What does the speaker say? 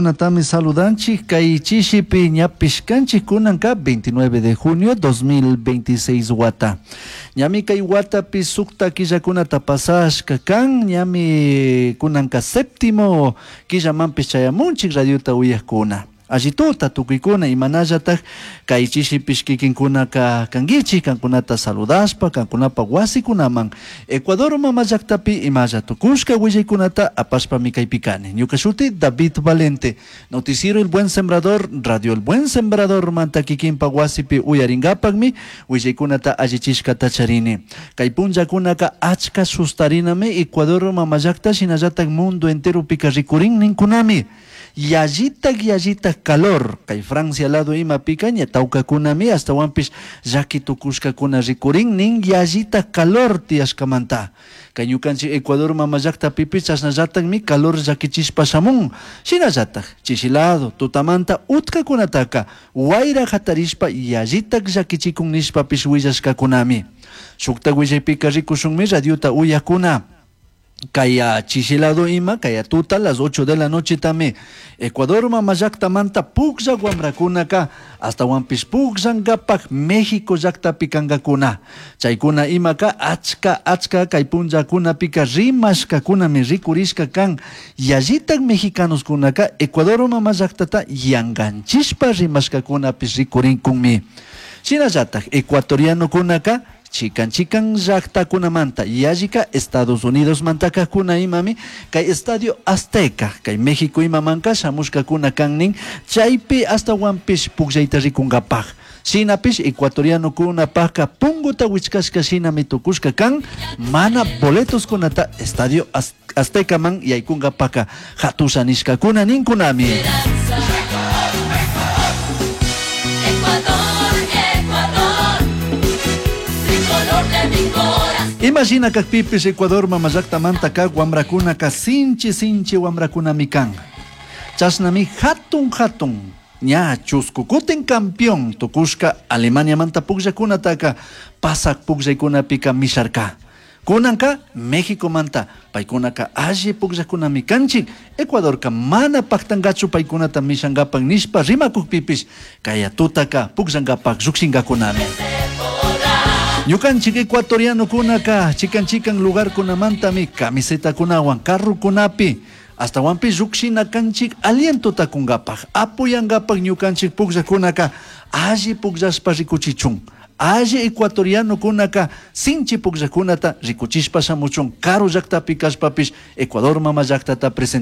Kunatami saludanchik kay chishipi ñapish kanchik kunanka 29 de junio 2026 wata. Ñami kay watapi sukta killakunata pasashka kan ñami kunanka séptimo killamanpish chayamunchik radiota uyakuna. Allituta tukuykuna imanallatak kay chishipish kikinkunaka kankichik kankunata saludashpa kankunapa wasikunaman Ecuador mama llaktapi imalla tukushka willaykunata apashpami kaypi kani. Ñuka shuti David Valente, Noticiero El Buen Sembrador, Radio El Buen Sembrador manta kikinpa wasipi uyarinkapakmi willaykunata allichishkata charini. Kay punllakunaka achka sustarinami Ecuador mama llakta shinallatak mundo enteropika rikurin ninkunami. Yallitak yallitak calor kay Francia lado imapika ña tawkakunami ashtawanpish llaki tukushkakuna rikurin nin yallitak calor tiyashkamanta. Kay ñukanchik Ecuador mama llaktapipish chashnallatakmi calor llakichishpa shamun. Shinallatak chishi lado tutamanta utkakunataka wayra hatarishpa yallitak llakichikun nishpapish willashkakunami. Shuktak willaypika rikushunmi radiota uyakuna. Kaya chishi lado ima, kaya tuta las 8 de la noche tami Ecuador mama llaktamanta puklla wamrakunaka ashtawanpish pukllankapaj México llaktapi kankakuna. Chaykuna imaka achka achka kay punllakunapika rimashkakunami rikurishka kan yallitak mexicanoskunaka Ecuador mama llaktata yanganchishpa rimashkakunapish rikurinkunmi. Shinallatak ecuatorianokunaka chikan chikan llaktakunamanta yallika Estados Unidos mantakakuna imami kay Estadio Azteca kay México imamanka shamushkakuna kan nin chaypi ashtawanpish pukllayta rikunkapaj shinapish ecuatorianokunapajka punguta wichkashka shinami tukushka kan mana boletoskunata Estadio Aztecaman yaykunkapaka hatusha nishkakuna ninkunami. Ecuador, Ecuador, tricolor de mi corazón. Imashina kakpipish Ecuador mama llaktamanta kak wamrakunaka sinchi sinchi wamrakunami kan. Chashnami hatun hatun ña chusku kutin campeón tukushka Alemaniamanta pukllakunataka pasak pukllaykunapika misharka. Kunanka Mexicomanta paykunaka alli pukllakunami kanchik Ecuadorka mana paktankachu paykunata mishankapak nishpa rimakukpipish kaya tutaka pukllankapak llukshinkakunami. Ñukanchik ecuatorianokunaka chikan chikan lugarkunamantami camisetakunawan carrokunapi ashtawanpish llukshina kanchik alientota kunkapaj apoyankapak ñukanchik pukllakunaka alli pukllashpa rikuchichun alli ecuatorianokunaka sinchi pukllakunata rikuchishpa shamuchun karu llaktapi kashpapish Ecuador mama llaktata presenta.